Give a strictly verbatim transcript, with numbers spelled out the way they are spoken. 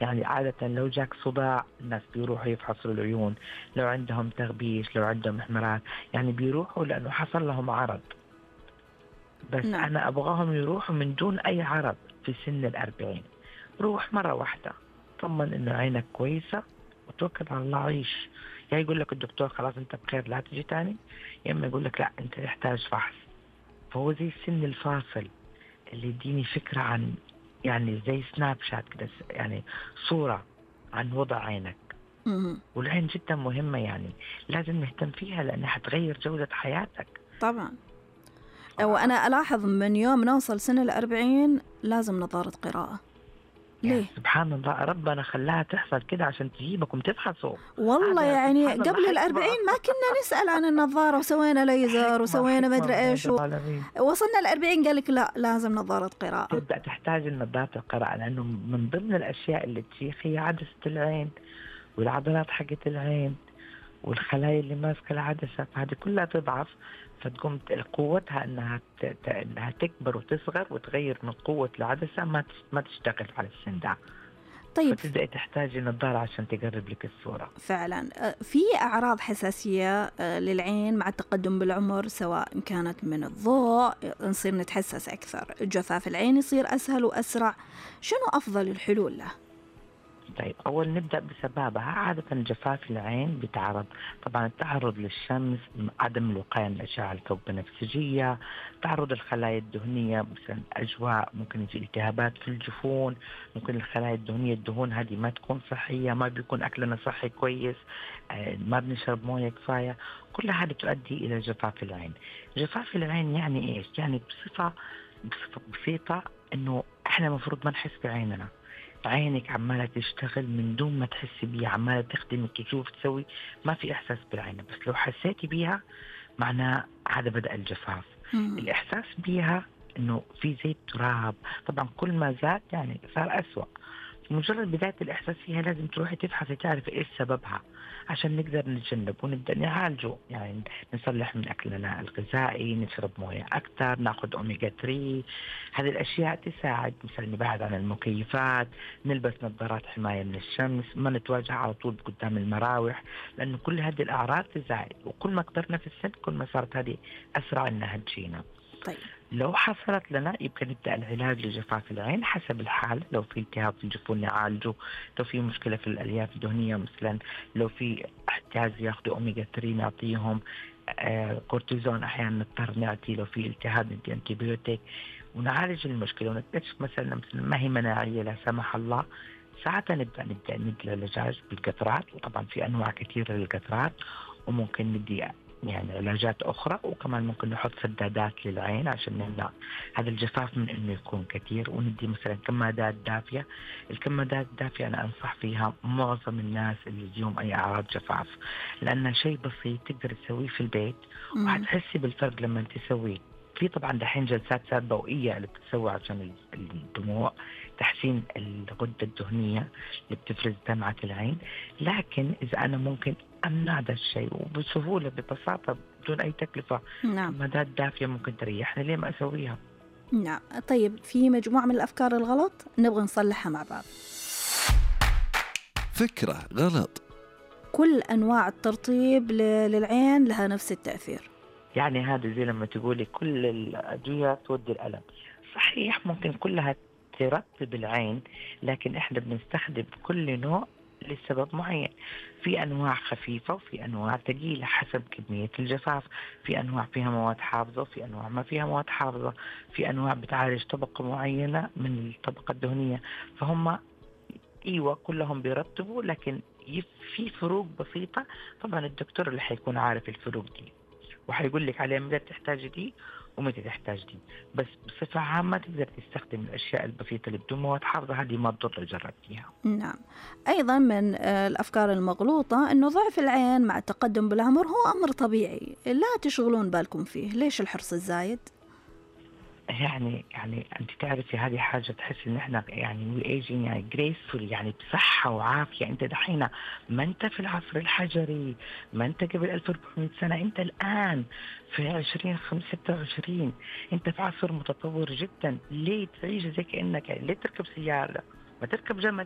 يعني عادة لو جاك صداع الناس بيروحوا يفحصوا العيون، لو عندهم تغبيش، لو عندهم إحمرار، يعني بيروحوا لأنه حصل لهم عرض. بس نعم. أنا أبغاهم يروحوا من دون أي عرض في سن الأربعين. روح مرة واحدة، طمن إنه عينك كويسة وتوكل على الله عيش. يا يقول لك الدكتور خلاص أنت بخير لا تجي تاني، يا إما يقول لك لا أنت تحتاج فحص. فهو زي السن الفاصل اللي يديني فكرة عن، يعني زي سناب شات كده، يعني صورة عن وضع عينك. مم. والعين جدا مهمة، يعني لازم نهتم فيها لأنها حتغير جودة حياتك. طبعا. وأنا ألاحظ من يوم نوصل سن الأربعين لازم نظارة قراءة. يعني ليه؟ سبحان الله ربنا خلاها تحصل كده عشان تجيبكم تفحصوا. والله هذا يعني سبحان الله قبل حكمة. الأربعين ما كنا نسأل عن النظارة، وسوينا ليزر حكمة وسوينا ما حكمة أدري من إيش عند و... العالمين. وصلنا الأربعين قالك لا لازم نظارة قراءة. تبدأ تحتاج النظارة القراءة، لأنه من ضمن الأشياء اللي تشيخ هي عدسة العين والعضلات حقت العين والخلايا اللي ماسكة العدسة، فهذه كلها تضعف، فتقوم قوتها انها ت... ت... انها تكبر وتصغر وتغير من قوة العدسة، ما تش... ما تشتغل على السن ده. طيب. فتبدأ تحتاج نظارة عشان تقرب لك الصورة. فعلا في أعراض حساسية للعين مع التقدم بالعمر، سواء كانت من الضوء نصير نتحسس أكثر، جفاف العين يصير أسهل وأسرع، شنو أفضل الحلول له؟ طيب أول نبدأ بسبابها. عادة جفاف العين بتعرض طبعا التعرض للشمس، عدم الوقاية من الأشعة الفوق بنفسجية، تعرض الخلايا الدهنية مثلا أجواء، ممكن يجي التهابات في الجفون، ممكن الخلايا الدهنية الدهون هذه ما تكون صحية، ما بيكون أكلنا صحي كويس، ما بنشرب موية كفاية، كل هذا تؤدي إلى جفاف العين. جفاف العين يعني إيش؟ يعني بصفة بصفة بسيطة إنه إحنا مفروض ما نحس بعيننا، عينك عمالة تشتغل من دون ما تحسي بيها، عمالة تخدمك تشوف تسوي، ما في إحساس بالعين. بس لو حسيتي بيها معناه هذا بدأ الجفاف. مم. الإحساس بيها إنه في زي التراب، طبعا كل ما زاد يعني صار أسوأ. مجرد بداية الإحساس فيها لازم تروحي تفحصي تعرفي إيش سببها عشان نقدر نتجنب ونبدأ نعالجه. يعني نصلح من أكلنا الغذائي، نشرب موية أكثر، ناخذ أوميجا ثلاثة، هذه الأشياء تساعد. مثلا نبعد عن المكيفات، نلبس نظارات حماية من الشمس، ما نتواجه على طول قدام المراوح، لأنه كل هذه الأعراض تزايد، وكل ما كبرنا في السن كل ما صارت هذه أسرع إنها تجينا. طيب. لو حصلت لنا يبقى نبدأ العلاج لجفاف العين حسب الحال. لو في التهاب في الجفون نعالجه، لو في مشكلة في الألياف الدهنية مثلا، لو في احتياج ياخذوا أوميجا ثلاثة نعطيهم، آه كورتيزون أحيانا نضطر نعطي، لو في التهاب ندي أنتيبيوتيك ونعالج المشكلة، ونكتشف مثلا مثلا ما هي مناعية لا سمح الله، ساعتها نبدأ نبدأ ندي العلاج بالقطرات. وطبعا في أنواع كثيرة للقطرات، وممكن ندي يعني علاجات أخرى، وكمان ممكن نحط سدادات للعين عشان نمنع هذا الجفاف من إنه يكون كثير، وندي مثلا كمادات دافية. الكمادات الدافية أنا أنصح فيها معظم الناس اللي يجيهم أي أعراض جفاف، لأنها شيء بسيط تقدر تسويه في البيت وهتحسي بالفرق لما تسويه. في طبعا دحين جلسات ضوئية اللي بتسوي عشان الدموع، تحسين الغدة الدهنية اللي بتفرز دمعة العين، لكن إذا أنا ممكن أمنع هذا الشيء وبسهولة ببساطة بدون أي تكلفة، نعم. كمادات دافية ممكن تريحني، ليه ما أسويها؟ نعم. طيب في مجموعة من الأفكار الغلط نبغى نصلحها مع بعض. فكرة غلط: كل أنواع الترطيب للعين لها نفس التأثير. يعني هذا زي لما تقولي كل الأدوية تودي الألم. صحيح ممكن كلها ترطب العين، لكن إحنا بنستخدم كل نوع لسبب معين. في أنواع خفيفة وفي أنواع ثقيلة حسب كمية الجفاف، في أنواع فيها مواد حافظة وفي أنواع ما فيها مواد حافظة، في أنواع بتعالج طبقة معينة من الطبقة الدهنية. فهم ايوه كلهم بيرطبوا، لكن في فروق بسيطة. طبعا الدكتور اللي حيكون عارف الفروق دي وحيقول لك عليها متى تحتاج دي ومتى تحتاج دي، بس بصفة عامة تقدر تستخدم الأشياء البسيطة اللي بدون مواد حافظة، هذه ما تضر لو جربتيها. نعم. أيضا من الأفكار المغلوطة أنه ضعف العين مع التقدم بالعمر هو أمر طبيعي، لا تشغلون بالكم فيه، ليش الحرص الزايد؟ يعني يعني انت تعرفي هذه حاجه تحس ان احنا يعني وي ايجينج يعني جريسفول، يعني بصحه وعافيه. انت دحين ما انت في العصر الحجري، ما انت قبل ألف وأربعمية سنه، انت الان في عشرين خمسة ستة وعشرين، انت في عصر متطور جدا. ليه تعيش زي كانك يعني ليه تركب سياره؟ ما تركب جمل.